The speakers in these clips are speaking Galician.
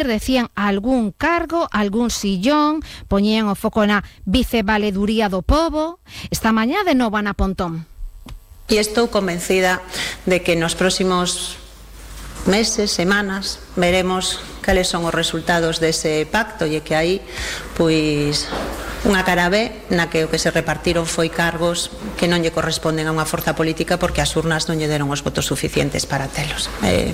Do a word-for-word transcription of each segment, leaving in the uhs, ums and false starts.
decían algún cargo, algún sillón, poñían o foco na vicevaleduría do pobo. Esta mañá de novo Ana Pontón. E estou convencida de que nos próximos meses, semanas, veremos cales son os resultados dese pacto e que aí, pois, unha cara B na que o que se repartiron foi cargos que non lle corresponden a unha forza política porque as urnas non lle deron os votos suficientes para telos. Eh,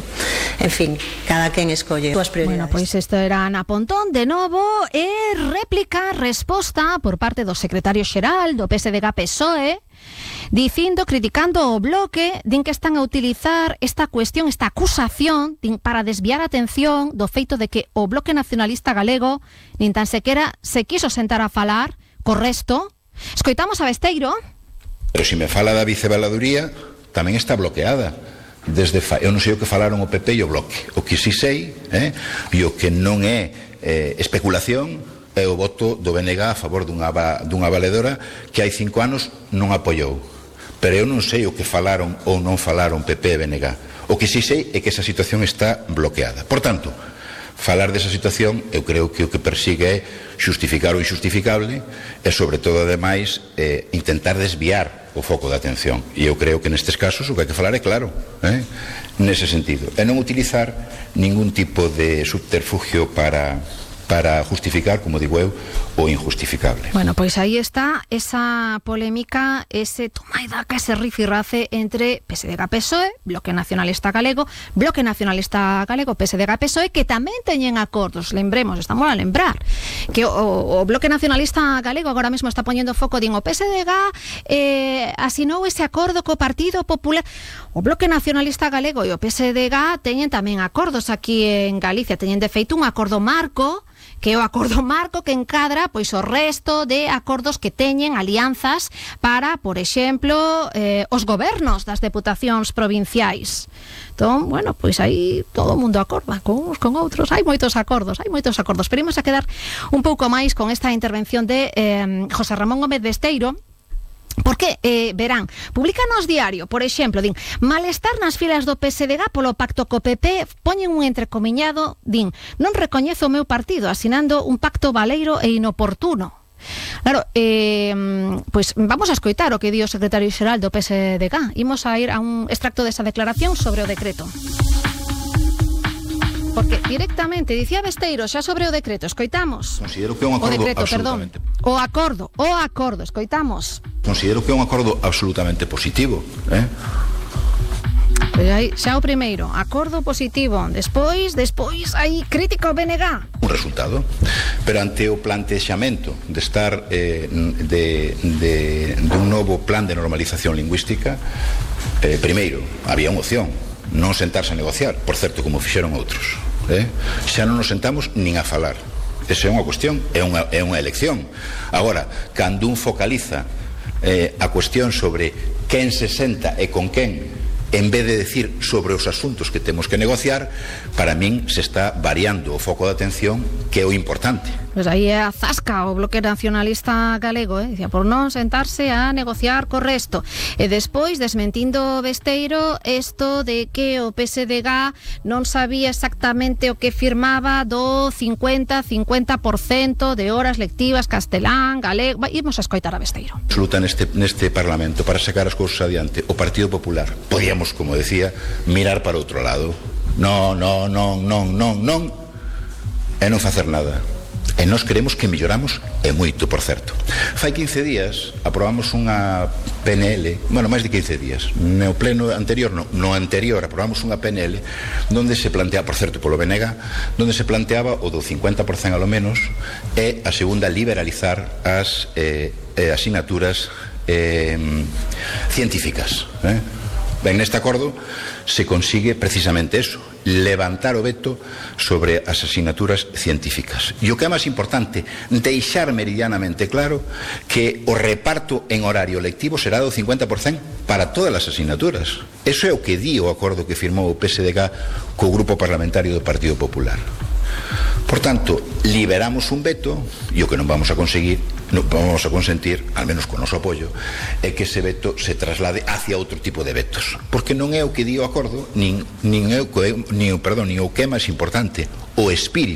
en fin, cada quen escolle as prioridades. Bueno, pois isto era Ana Pontón de novo e réplica, resposta por parte do secretario xeral do P S D G P S O E, dicindo, criticando o Bloque, din que están a utilizar esta cuestión, esta acusación din, para desviar a atención do feito de que o Bloque Nacionalista Galego nin tan sequera se quiso sentar a falar co resto. Escoitamos a Besteiro. Pero se me fala da vicevaladuría, tamén está bloqueada. Desde fa... Eu non sei o que falaron o P P e o Bloque. O que si sei, eh, e o que non é eh, especulación, é o voto do B N G a favor dunha, dunha valedora que hai cinco anos non apoiou. Pero eu non sei o que falaron ou non falaron P P e B N G. O que si sei é que esa situación está bloqueada. Por tanto, falar desa situación eu creo que o que persigue é xustificar o injustificable e, sobre todo, ademais, eh, intentar desviar o foco de atención. E eu creo que nestes casos o que hai que falar é claro, eh? nese sentido. E non utilizar ningún tipo de subterfugio para... para justificar, como digo eu, o injustificable. Bueno, pois aí está esa polémica, ese toma e daca, ese rifirrafe entre P S D G P S O E, Bloque Nacionalista Galego, Bloque Nacionalista Galego, P S D G P S O E, que tamén teñen acordos, lembremos, estamos a lembrar, que o, o Bloque Nacionalista Galego agora mesmo está poñendo foco, din, o P S D G eh, asinou ese acordo co Partido Popular. O Bloque Nacionalista Galego e o P S D G teñen tamén acordos aquí en Galicia, teñen de feito un acordo marco, que é o acordo marco que encadra pois o resto de acordos que teñen alianzas para, por exemplo, eh, os gobernos das deputacións provinciais. Entón, bueno, pois aí todo o mundo acorda con uns con outros, hai moitos acordos, hai moitos acordos. Pero imos a quedar un pouco máis con esta intervención de eh, José Ramón Gómez Besteiro. Porque, eh, verán, publican nos diario, por exemplo, din, malestar nas filas do P S D G polo pacto co P P, poñen un entrecomiñado, din, non recoñezo o meu partido asinando un pacto baleiro e inoportuno. Claro, eh, pois vamos a escoitar o que di o secretario xeral do P S D G. Imos a ir a un extracto desa declaración sobre o decreto. Porque directamente, dicía Besteiro, xa sobre o decreto, escoitamos. Considero que é un acordo o decreto, absolutamente... perdón. O acordo, o acordo, escoitamos. Considero que é un acordo absolutamente positivo, eh? Pois aí, xa o primeiro, acordo positivo. Despois, despois, aí, crítico B N G. Un resultado. Pero ante o plantexamento de estar eh, de, de, de un novo plan de normalización lingüística, eh, primeiro, había unha opción, non sentarse a negociar, por certo, como fixeron outros, eh? Xa non nos sentamos nin a falar. Esa é unha cuestión, é unha, é unha elección. Agora, cando un focaliza eh, a cuestión sobre quen se senta e con quen, en vez de decir sobre os asuntos que temos que negociar, para min se está variando o foco de atención, que é o importante. Pois aí é a zasca o Bloque Nacionalista Galego, eh? Dicía, por non sentarse a negociar co resto. E despois, desmentindo Besteiro, isto de que o P S D G non sabía exactamente o que firmaba do cincuenta a cincuenta por cento de horas lectivas castelán, galego... Imos a escoitar a Besteiro. Absoluta neste, neste Parlamento para sacar as cousas adiante. O Partido Popular, podíamos, como decía, mirar para outro lado. Non, non, non, non, non, non, e non facer nada. E nós queremos que melloramos e moito, por certo. Fai quince días aprobamos unha P N L, bueno, máis de quince días, no pleno anterior, no, no anterior aprobamos unha P N L donde se planteaba, por certo, polo B N G, donde se planteaba o do cincuenta por cento a lo menos, e a segunda, liberalizar as eh, asignaturas eh, científicas, eh? Ben, neste acordo se consigue precisamente eso, levantar o veto sobre as asignaturas científicas. E o que é máis importante, deixar meridianamente claro que o reparto en horario lectivo será do cincuenta por cento para todas as asignaturas. Eso é o que di o acordo que firmou o P S D G co Grupo Parlamentario do Partido Popular. Por tanto, liberamos un veto e o que non vamos a conseguir, non vamos a consentir, al menos con o noso apoio, é que ese veto se traslade hacia outro tipo de vetos, porque non é o que di o acordo, nin, nin, é o que, nin, perdón, nin o que é máis importante, o espírito